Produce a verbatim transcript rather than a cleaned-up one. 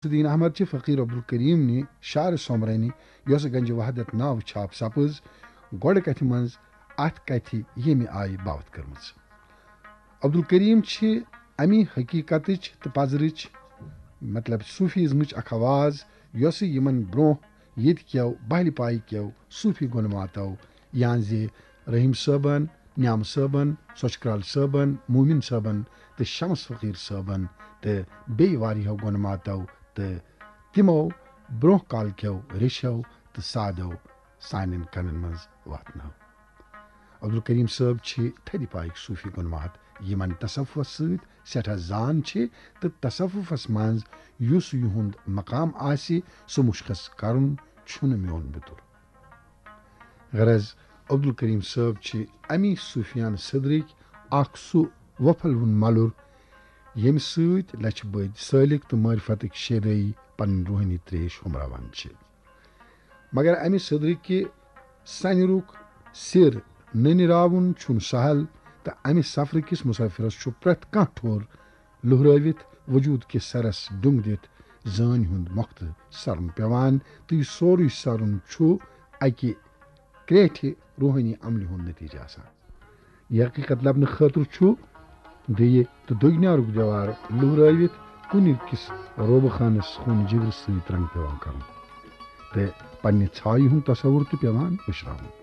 شمس الدین احمد چھِ فقیر عبدالکریم نہِ شعر سومرٲنی، یۄسہٕ گنج وحدت ناوٕ چھاپ سپٕز، گۄڈٕ کتھِ منٛز اتھ کتھِ ییٚمہِ آیہِ باوتھ کٔرمٕژ۔ عبدالکریم چھِ امی حقیقتٕچ تہٕ پزرٕچ، مطلب صوفیزمٕچ اکھ آواز، یۄسہٕ یِمن برونٛہہ ییٚتہِ کیو بہلہِ پایہِ کیو صوفی گۄنماتو، یعنی زِ رحیم صٲبن، نیام صٲبن، سۄچھ کرال صٲبن، مومن صٲبن تہٕ شمس فقیر صٲبن تہٕ بیٚیہِ واریاہو گۄنماتو تہٕ تِمو برونٛہہ کال کیو ریشو تہٕ سادو سانٮ۪ن کنن منٛز واتنٲو۔ عبدالکریم صٲب چھِ تھدِ پایِکۍ صوفی گۄنمات، یِمن تصوفس سۭتۍ سٮ۪ٹھاہ زان چھِ تہٕ تصوفس منٛز یُس یِہُنٛد مقام آسہِ، سُہ مُشخص کرُن چھُنہٕ میون بِتُر۔ غرض، عبدالکریم صٲب چھِ امی صوفیانہٕ صدرٕکۍ اکھ سُہ وۄپھل ہُن ملُر، ییٚمہِ سۭتۍ لچھِ بٔدۍ سٲلِک تہٕ معرفتٕکۍ شیدٲیی پنٕنۍ روحٲنی تریش ہُمراوان چھِ۔ مگر امہِ صدرٕکہِ سنیرُک سِر نٔنِراوُن چھُنہٕ سہل، تہٕ امہِ سفرٕ کِس مسافرس چھُ پرٛٮ۪تھ کانٛہہ ٹھوٚر لُہرٲوِتھ وجود کِس سرس ڈوٚنگ دِتھ زٲنۍ ہُنٛد مۄختہٕ سرُن پٮ۪وان، تہٕ یہِ سورُے سرُن چھُ اکہِ کرٛیٹھِ روحٲنی عملہِ ہُنٛد نتیجہٕ آسان۔ یہِ حقیقت لبنہٕ خٲطرٕ چھُ دِیہِ تہٕ دٔگنیارُک دیوار لُہرٲوِتھ کُنہِ کِس روبہٕ خانس خوٗن جگرٕ سۭتۍ رنگ پٮ۪وان کرُن تہٕ پننہِ ژھایہِ ہُنٛد تصور تہِ پٮ۪وان مٔشراوُن۔